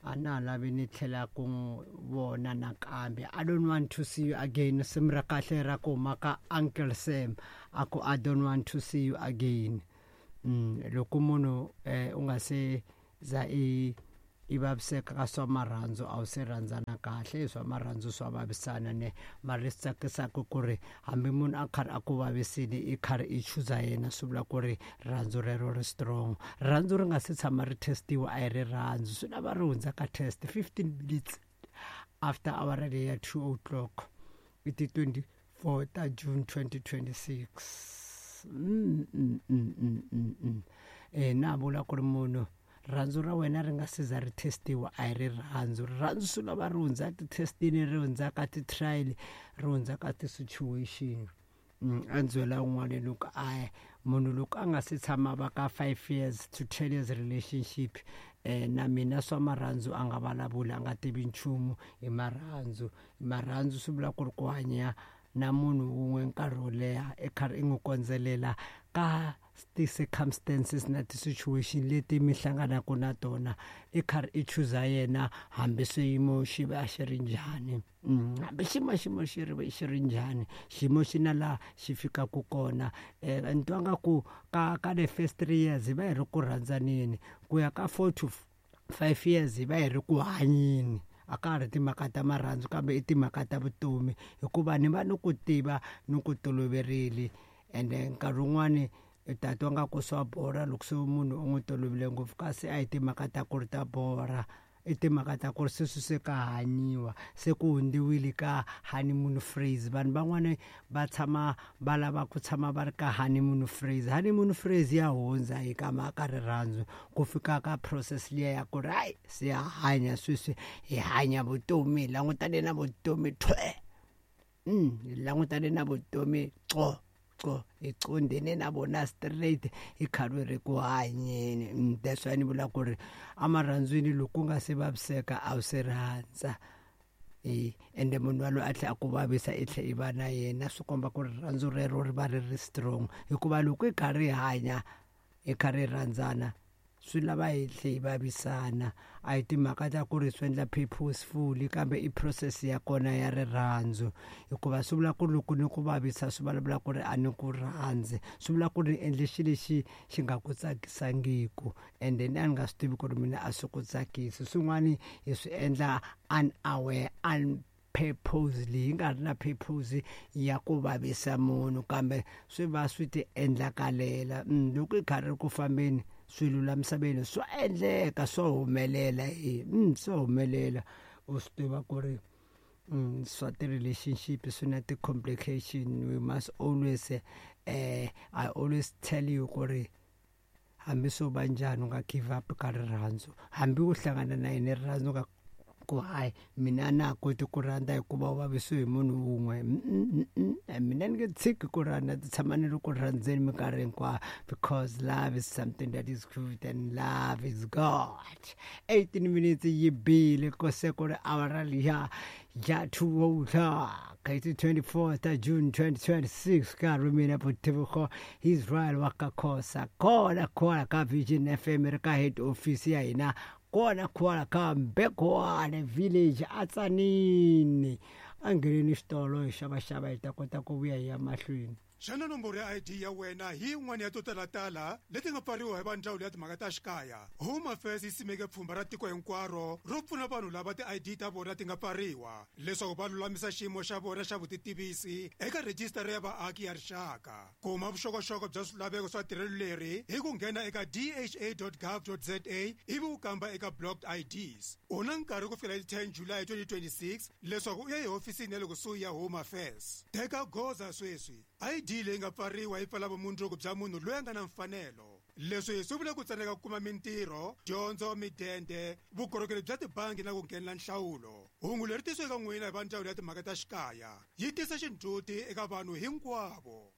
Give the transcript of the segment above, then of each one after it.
A na ha lavi ni tlhela ku n'wi vona nakambe. I don't want to see you again. Risimu ra kahle ra ku huma ka Uncle Sam a ku I don't want to see you again. Loko munhu u nga se za i i vaviseka ka swa marhandzu a wu se rhandzana kahle swa marhandzu swa vavisana ne mara leswi tsakisaka ku ri hambi munhu a karhi a ku vavisile i karhi i chuza yena swi vula ku ri rirhandzu rero ri strong rirhandzu ri nga se tshama ri testiwa a hi rirhandzu swi lava ri hundza ka test 15 minutes after awara leyi ya 2 o'clock i ti 24 ta June 2026 na vula ku ri munhu rirhandzu ra wena ri nga se za ri testiwa a hi rirhandzu rirhandzu swi lava ri hundza ti-testini ri hundza ka ti-trial ri hundza ka ti-situation. A ndzi byela un'wana loko a munhu loko a nga se tshama va ka 5 years to 10 years relationship na mina swa marhandzu a nga vulavuli a nga tivi nchumu hi marhandzu marhandzu swi vula ku ri ku hanya na munhu wun'we nkarhi wo leha i karhi i n'wi kondzelela ka ti-circumstances na ti-situation leti mi hlanganaka na tona i karhi i chuza yena hambi swiyimo xi va xi ri njhani. Hambi xiyimo xiyimo xi ri xi ri njhani xiyimo xi na laha xi fikaka kona ni twa nga ku ka ka the first 3 years hi va hi ri ku rhandzaneni ku ya ka 4 to 5 years hi va hi ri ku hanyeni a ka ha ri timhaka ta marhandzu kambe i timhaka ta vutomi hikuva ni va ni ku tiva ni ku toloverile ende nkarhi wun'wani i ta twa nga ku swa borha loko se munhu u n'wi tolovele ngopfu kasi a hi timhaka ta ku ri ta borha i timhaka ta ku ri sweswi se ka hanyiwa se ku hundziwile ka honeymoon phrase vanhu van'wani va tshama va lava ku tshama va ri ka honeymoon phrase honeymoon phrase ya hundza hi ka mhaka rirhandzu ku fika ka process liya ya ku ri hayi se ya hanya sweswi hi hanya vutomi hi langutane na vutomi thwe hi langutane na vutomi qo qo hi qondene na vona straight hi karhi ri ku hanyeni. That's why ni vula ku ri emarhandzwini loko u nga se vaviseka a wu se rhandza ende munhu waloye a tlhela a ku vavisa i tlhela i va na yena swi komba ku ri rirhandzu rero ri va ri ri strong hikuva loko hi karhi hi hanya hi karhi hi rhandzana swi lava hi tlhe hi vavisana a hi timhaka ta ku ri swi endla purposefully kambe i process ya kona ya rirhandzu hikuva swi vula ku ri loko ni ku vavisa swi vulavula ku ri a ni ku rhandzi swi vula ku ri ni endle xilo lexi xi nga ku tsakisangiku ende ni a ni nga swi tivi ku ri mina a swi ku tsakisi swin'wani hi swi endla unaware purposely hi nga ri na purpose ya ku vavisa munhu kambe swi va swi ti endlakalela. Loko hi karhi ri ku fambeni swilo la misaveni swa endleka swo humelela swo humelela u swi tiva ku ri swa ti-relationship swi na ti-complication we must always I always tell you ku ri hambi swo va njhani u nga give up ka rirhandzu hambi u hlangana na yena rirhandzu nga ku hayi mina a na ha koti ku rhandza hikuva u vavisiwe hi munhu wun'we mina ni nge tshiki ku rhandza ndzi tshama ni ri ku rhandzeni minkarhi hinkwayo because love is something that is good and love is God 18 minutes yi bile ko se ku ri awara liya ya 2 o'clock hi 24 ta June 2026 nkarhi mina Botebogo Israel wa ka Khosa kona kona ka Vision FM ri ka head office ya hina kona kona ka Mbekwane village a Tzaneen a ngheneni xitolo hi xavaxava hi ta kota ku vuya hi ya mahlweni. Xana nomboro ya ID ya wena hi yin'wana ya to talatala leti nga pfariwa hi va Ndzawulo ya Timhaka ta Xikaya? Home Affairs yi simeke pfhumba ra tiko hinkwaro ro pfuna vanhu lava ti-ID ta vona ti nga pfariwa leswaku va lulamisa xiyimo xa vona xa vutitivisi eka Rhijisitara ya Vaaki ya Rixaka. Kuma vuxokoxoko bya swilaveko swa tirhelo leri hi ku nghena eka dha.gov.za ivi u kamba eka Blocked IDs. U na nkarhi ku fikela hi ti 10 July 2026 leswaku u ya ehofisini ya le kusuhi ya Home Affairs. Teka goza sweswi! ID leyi nga pfariwa yi pfala vumundzuku bya munhu loyi a nga na mfanelo. Leswi swi vula ku tsandzeka ku kuma mintirho, dyondzo, midende, vukorhokeri bya tibangi na ku nghenela nhlawulo. Hungu leri tisiwe eka n'wina hi va Ndzawulo ya Timhaka ta Xikaya. Yi tisa xindzhuti eka vanhu hinkwavo.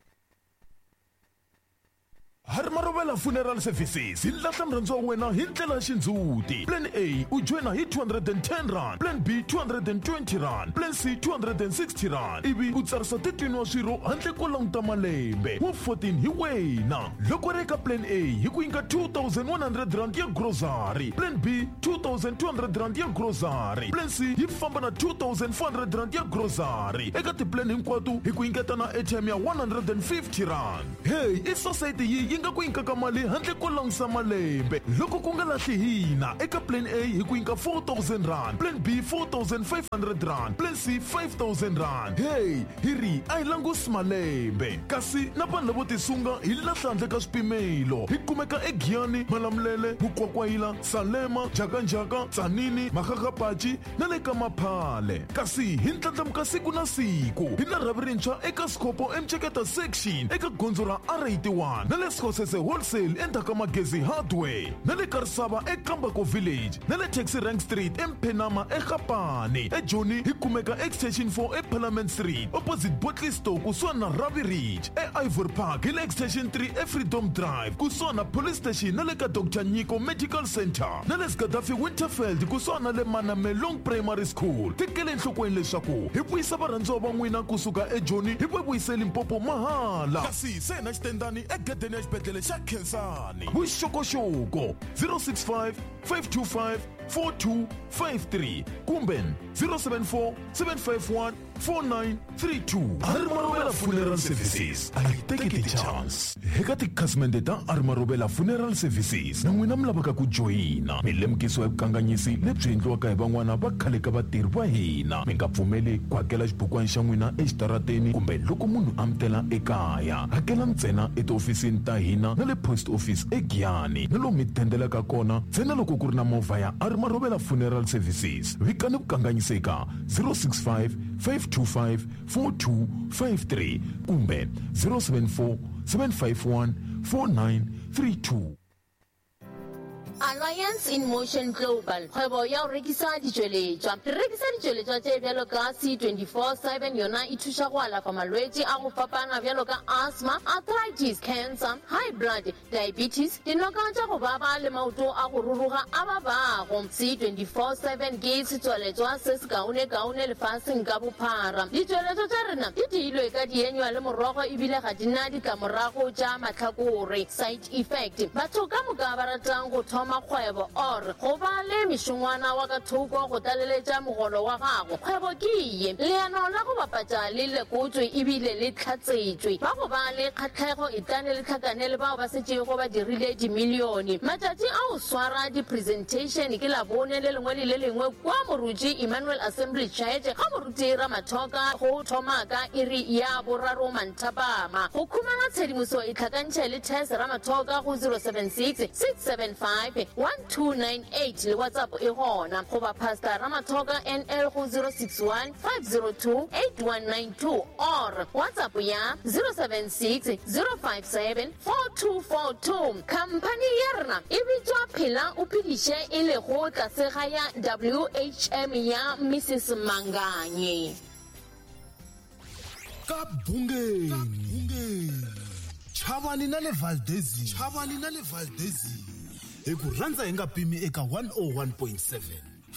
Harimarovela Funeral Services hi lahla murhandziwa wa wena hi ndlela ya xindzhuti. Plan A u joyina hi 210 rand, Plan B 220 rand, Plan C 260 rand, ivi u tsarisa 13 wa swirho handle ko languta malembe. Wa 14 hi wena. Loko ri eka Plan A hi ku nyika 2100 rand ya grocery, Plan B 2200 rand ya grocery, Plan C yi famba na 2400 rand ya grocery. Eka tiplan hinkwato hi ku nyiketa na airtime ya 150 rand. Hey, i society yi yi nga ku nyikaka mali handle ko langusa malembe. Loko ku nga lahli hina eka Plan A hi ku nyika 4000 rand, Plan B 4500 rand, Plan C 5000 rand. Hey, hi ri a hi langusi malembe. Kasi na vanhu lavo tisunga hi lahla handle ka swipimelo. Hi kumeka eGiyani, Malamulele, Mukwakwayila, Salema, Njhakanjhaka, Tzaneen, Makgakgapachi na le ka Maphale. Kasi hi ndlandlamuka siku na siku. Hi na rhavi rintshwa eka Skhopho eMceketa section eka gondzo ra R81 na le Skhosese Wholesale endzhaku ka Magezi Hardware na le Karisava eKambako Village na le Taxi Rank Street eMphenama eGapane. EJoni hi kumeka Extension 4 eParliament Street opposite Botley Store kusuhani na Ravi Ridge. E-Ivory Park hi le Extension 3 eFreedom Drive kusuhani na Police Station na le ka Dr Nyiko Medical Center na le Gaddafi Winterfeld kusuhani na le Manamelong Primary School. Tekele enhlokweni leswaku hi vuyisa varhandziwa va n'wina kusuka eJoni hi va vuyise Limpopo mahala. Kasi se na xitendani egedeni ya xibedhlele xa Khensani. Vuxokoxoko 065 525 4253 kumbe 074 751 4932. Arimarovela Funeral Services a yi teki ti-chance. Eka tikhasimende ta Arimarovela Funeral Services na n'wina mi lavaka ku joyina, mi lemukisiwa hi vukanganyisi lebyi endliwaka hi van'wana va khale ka vatirhi va hina. Mi nga pfumeli ku hakela xibukwana xa n'wina exitarateni kumbe loko munhu a mi tela ekaya. Hakela ntsena etihofisini ta hina na le post office eGiyani na lomu mi dendelaka kona ntsena loko ku ri na movha ya Arimarovela Funeral Services. Vikani vukanganyisi eka 065 525 4253 kumbe 074 751 4932. Alliance in Motion Global, kgwebo ya go rekisa ditšweletšwa. Re rekisa ditšweletšwa tše bjalo ka C24/7, yona e thuša go alafa malwetši a go fapana bjalo ka asthma, arthritis, cancer, high blood, diabetes, dinoka tša go baba le maoto a go ruruga a babago. C24/7 ke setswaletšwa se sekaonekaone lefaseng ka bophara. Ditšweletšwa tša rena di diilwe ka dienywa le morogo ebile ga di na ditlamorago tša mahlakore, side effect. Batho ka moka ba ratang go thoma kgwebo or go ba le mešongwana wa ka thoko go tlaleletša mogolo wa gago, kgwebo ke ye. Leano la go bapatša le lekotšwe ebile le hlatsetšwe. Ba go ba le kgahlego etlane le hlakane le bao ba setšego ba dirile dimilione. Matšatši a go swara di-presentation ke Labone le lengwe le le lengwe kua Moruti Emmanuel Assembly Church ga Moruti Ramathoka go thoma ka iri ya boraro manthapama. Go khumana tshedimoso itlhakantšhe le Tess Ramathoka go 076 675 1298 le WhatsApp e gona, goba Pastor Ramathoka NL go 061 502 8192 or WhatsApp ya 076 057 4242. Khamphani ya rena e bitšwa Phela o Phediše e lego tlase ga ya WHM ya Mrs Manganye. Ka Bungeni, Chavani na le Valdezini, Chavani na le Valdezini, hi ku rhandza hi nga pimi eka 101.7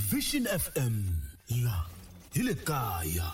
Vision FM, la hi le kaya.